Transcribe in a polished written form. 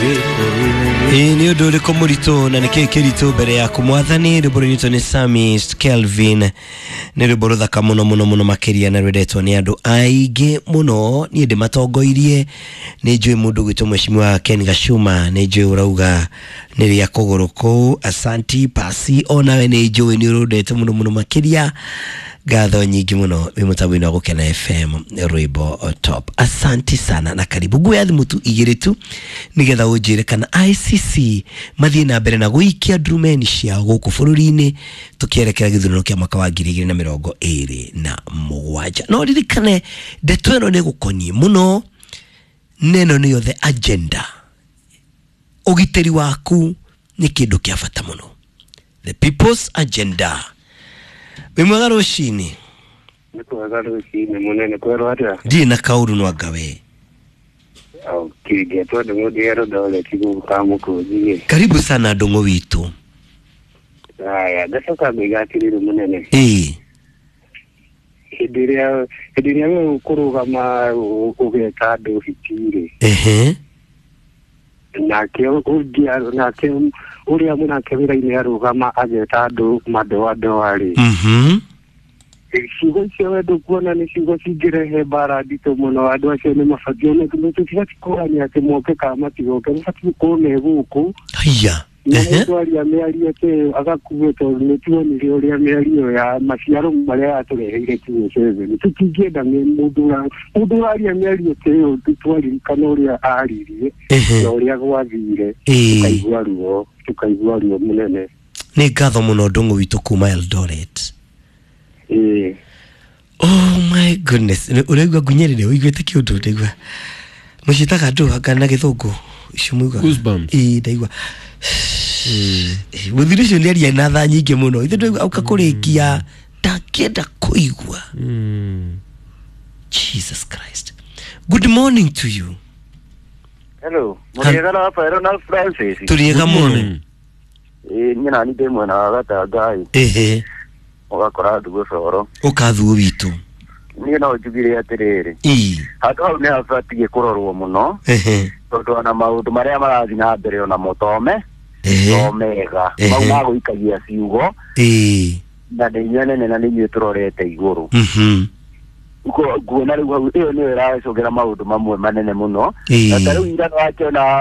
Ĩĩ nĩ ũndũ ũrĩkũ mũritũ na nĩkĩĩ kĩritũ mbere yaku mwathani? Rwĩmbo rũinĩtwo nĩ Sammy Kelvin, nĩ rwĩmbo rũthaka mũno mũno mũno makĩria na rwendetwo nĩ andũ aingĩ mũno. Niĩ ndĩmatongoirie, nĩ njũĩ mũndũ gwĩtwo Mheshimiwa Ken Gachuma, nĩ njũĩ ũrauga nĩ rĩa kũgũrũ kũu. Asanti pasi, onawe nĩ njũĩ nĩ ũrũndete mũno mũno makĩria. Ngatho nyingĩ mũno wĩ mũtambo-inĩ wa Gũkena FM, rwĩmbo top. Asanti sana na karibu. Nguoya thimũ tu igĩrĩ tu nĩgetha ũnjĩre kana ICC mathiĩ na mbere na gũikia ndurumeni ciao gũkũ bũrũri-inĩ tũkĩerekera gĩthurano kĩa mwaka wa 2027. No ririkane ndeto ĩno nĩ gũkoniĩ mũno, na ĩno nĩyo the agenda. Ũgitĩri waku nĩ kĩndũ kĩa bata mũno, the people's agenda. Wĩ mwega rũcinĩ? Nĩ kwega rũcinĩ mũnene, kwerwo atĩa? Ndirĩ na kaũru no anga we. Kĩngetwo nĩ mũndũ Eldoret gũkũ Kamũkũnji. Karibu sana ndũng'ũ witũ. Haya, ngacoka ngoiga atĩrĩrĩ mũnene, ĩĩ hĩndĩ ĩrĩa we ũkũrũgama ũgeta andũ hiti-rĩ, nake ũngĩ nake ũrĩa mũnake wĩra-inĩ arũgama ageta andũ madoadoa-rĩ, ciugo icio we ndũkuona nĩ ciugo cingĩrehe mbara nditũ mũno? Andũ acio nĩ mabatiĩ, tũtibatiĩ kũrania atĩ moke kana matigoke, mabatiĩ gũkorwo me gũkũ haiya na mũndũ aria mĩario ta ĩyo agakuo, tondũ nĩ tuonire ũrĩa mĩario ya maciaro marĩa yatũreheire 2007. Tũtingĩenda mũndũ ũraria mĩario ta ĩyo, twaririkana ũrĩa aririe na ũrĩa gwathire, tũkaigua ruo mũnene. Nĩ ngatho mũno ndũng'ũ witũ kuma Eldoret. Ĩĩ. Oh my goodness, ũraigua ngunyĩrĩre ũiguĩte kĩũndũ ndaigua mũciĩtaga andũ anga na gĩthũngũ icio muigaga? Goosebumps. Ĩĩ, ndaigua mũthuri ũcio nĩ aria na tha nyingĩ mũno, ithe ndaigua auka kũrĩkia ndangĩenda kũigua. Jesus Christ. Good morning to you. Hello, mũrĩega Rafael na Francis? Tũrĩega mũno. Ĩĩ, niĩ nani ndĩ mwena wa Gatangai, ũgakora Ndugũ Coro. Ũkathuo witũ. Niĩ no njugire atĩrĩrĩ, handũ hau nĩ habatiĩ kũrorwo mũno, tondũ ona maũndũ marĩa marathiĩ na mbere onamo tome to mega. Mau magũikagia ciugo na nĩ inyuĩ anene na nĩ inyuĩ tũrorete igũrũ. Nguona rĩu hau ĩyo nĩyo ĩracũngĩra maũndũ mamwe manene mũno. Na ta rĩu ira nĩwakĩona.